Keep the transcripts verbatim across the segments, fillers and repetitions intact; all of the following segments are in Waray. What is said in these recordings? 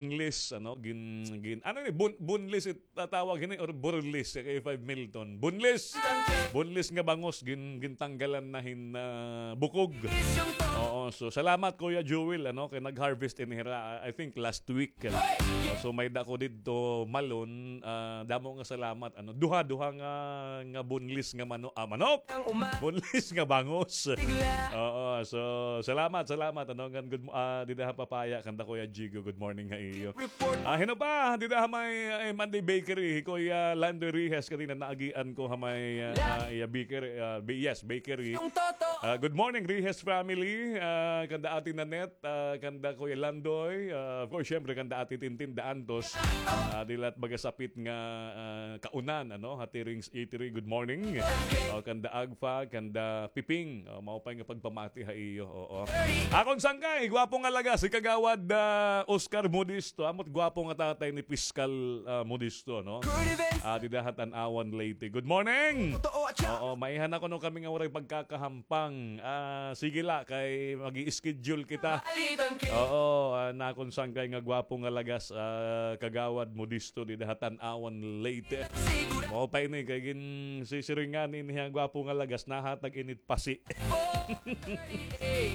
English, ano, gin-, gin-, ano ini, bun-, bunlis it tatawag ini or burlis, kay five Milton. Bunlis! Bunlis nga bangos, gin-, gintanggalan na hin, ah, bukog. Oo, so salamat, Kuya Jewel, ano, kay nag-harvest ini hira, I think last week. So, may-ada ko didto malon, ah, damo nga salamat, ano, duha, duha nga, nga bunlis nga mano-, ah, manok. Bunlis nga bangos. Oo, so, salamat, salamat, ano, ngan good mo-, ah, dida ha Papaya, kanda Kuya Jigo, good morning ha iyo. Ah, hin-o pa, dida ha may, eh, Monday Bakery, hi Kuya Lando Rihes, kanina naagian ko ha may, ah, ah, iya bakery, ah, ba-, yes, bakery. Ah, good morning, Rihes family, ah, kanda Ate Nanette, ah, kanda Kuya Landoy, ah, of course, syempre, kanda Ate Tintin Daantos, ah, dida la ha baga sapit nga, ah, kaunan, ano, ha Tirings Eatery, good morning. O, kanda Agfa, kanda Piping, o, maupay nga pagpamati ha iyo, oo. Akon sangkay, gwapo nga lagas, hi Kagawad, ah, Oscar Modesto, amo it gwapo nga tatay ni Piskal, ah, Modesto, no? Ah, dida ha Tanauan, Leyte. Good morning! Oo, maiha na kuno kami nga waray pagkakaham- pang. Ah, sige la, kay mag-i-schedule kita. Oo, ah, nakon sangkay nga gwapo nga lagas, ah, Kagawad Modesto dida ha Tanauan, Leyte. Maupay ini, kay ginsisiringan ini nga gwapo nga lagas, nahatag ini it pasi.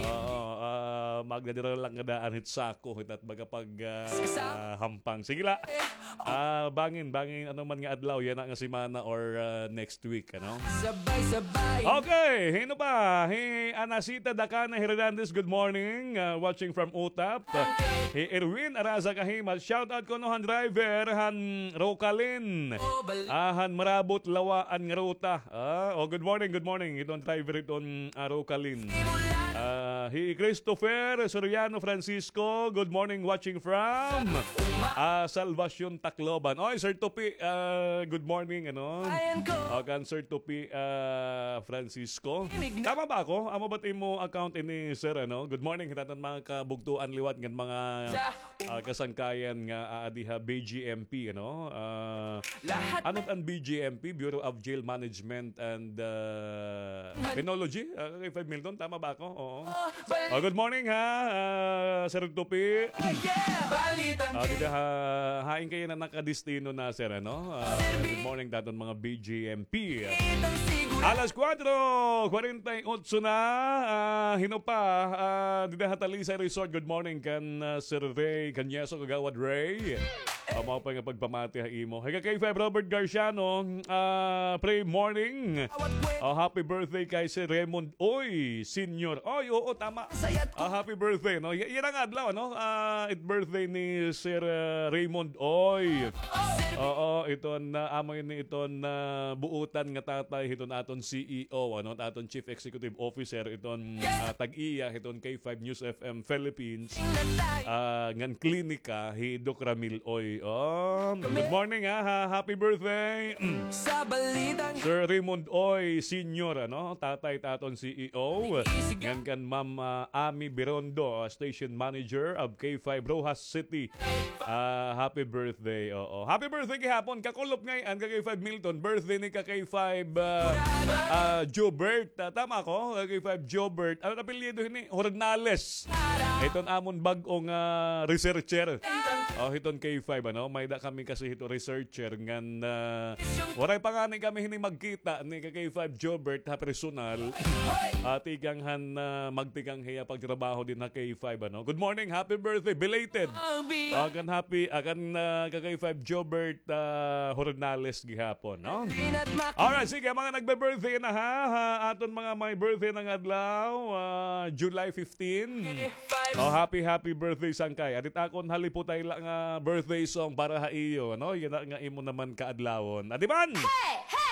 Oo, ah, magdadala lang nga daan hit sako, hit at baga pag, ah, hampang. Sige la. Ah, bangin, bangin, ano man nga adlaw, yana nga semana or, ah, next week, ano? Sabay-sabay. Okay, hin-o pa? Hi Anacita Dacana Hernandez, good morning. Ah, watching from Utap. Hi Erwin Araza Kahimat, shout out kuno han driver, han Rocalin. Ah, han Marabot Lawaan nga ruta. Ah, oh, good morning, good morning. Iton driver iton, ah, Rocalin. Ah, hi Christopher Soriano Francisco, good morning, watching from, ah, Salvacion, Tacloban. Oy, Sir Tupi, ah, good morning, ano? O, kan Sir Tupi, ah, Francisco. Tama ba ako? Amo ba't imo account ini, sir, ano? Good morning, hit aton mga kabugtoan liwat ngan mga, ah, kasangkayan nga aadi ha B G M P, ano? Ah, ano an B G M P? Bureau of Jail Management and, ah, Penology? Ah, kay five Milton, tama ba ako? Oo. Ah, good morning, ha, ah, Sir Tupi. Ah, dida ha, hain kay na nakadestino na, sir, ano? Ah, good morning, daton mga B G M P. Alas kuwatro kwarenta y otso na, ah, hin-o pa, ah, dida ha Talisay Resort. Good morning kan, ah, Sir Ray Cañeso, Kagawad Ray. Ah, maupay nga pagpamati ha imo. Hi ka K five Robert Garciano, ah, pre morning. Oh, happy birthday kay Sir Raymond Oy Senior. Oy, oo, tama. Ah, happy birthday, no? Y-, yana nga adlaw, no? Ah, it birthday ni Sir, ah, Raymond Oy. Oo, iton, ah, amo ini iton, ah, buotan nga tatay hiton aton C E O, ano, aton Chief Executive Officer, iton, ah, tag-iya hiton K five News F M Philippines. Ah, ngan klinika hi Doc Ramil Oy. Oh, good morning, ha, ha, happy birthday. Sir Raymond Oy Senior, ano, tatay hit aton C E O. Ngan kan Ma'am, ah, Ami Birondo, ah, Station Manager of K five Roxas City. Ah, happy birthday. Oo. Happy birthday gihapon. Kakulop ngay-an ka K five Milton. Birthday ni ka K five, ah, ah, Jobert. Ah, tama ako? Ka K five Jobert. Ano apelyido hini? Hornales. Hiton amon bag-o nga, ah, researcher. Oh, hiton K five, ano? May-ada kami kasi hito researcher ngan, ah, waray pa ngani kami hini magkita ni ka K five Jobert ha personal. Ah, tikang han, ah, magtikang hiya pagtrabaho dinhi ha K five, ano? Good morning, happy birthday, belated. Ah, kan happy, ah, kan, ah, ka K five Jobert, ah, Hornales gihapon, no? Alright, sige, mga nagbe-birthday na, ha? Ha, aton mga may birthday nga adlaw, ah, July fifteen. Oh, happy, happy birthday, sangkay. Adit akon haliputay la nga birthday song para ha iyo, ano? Yana nga imo naman kaadlawon. Adi man! Hey!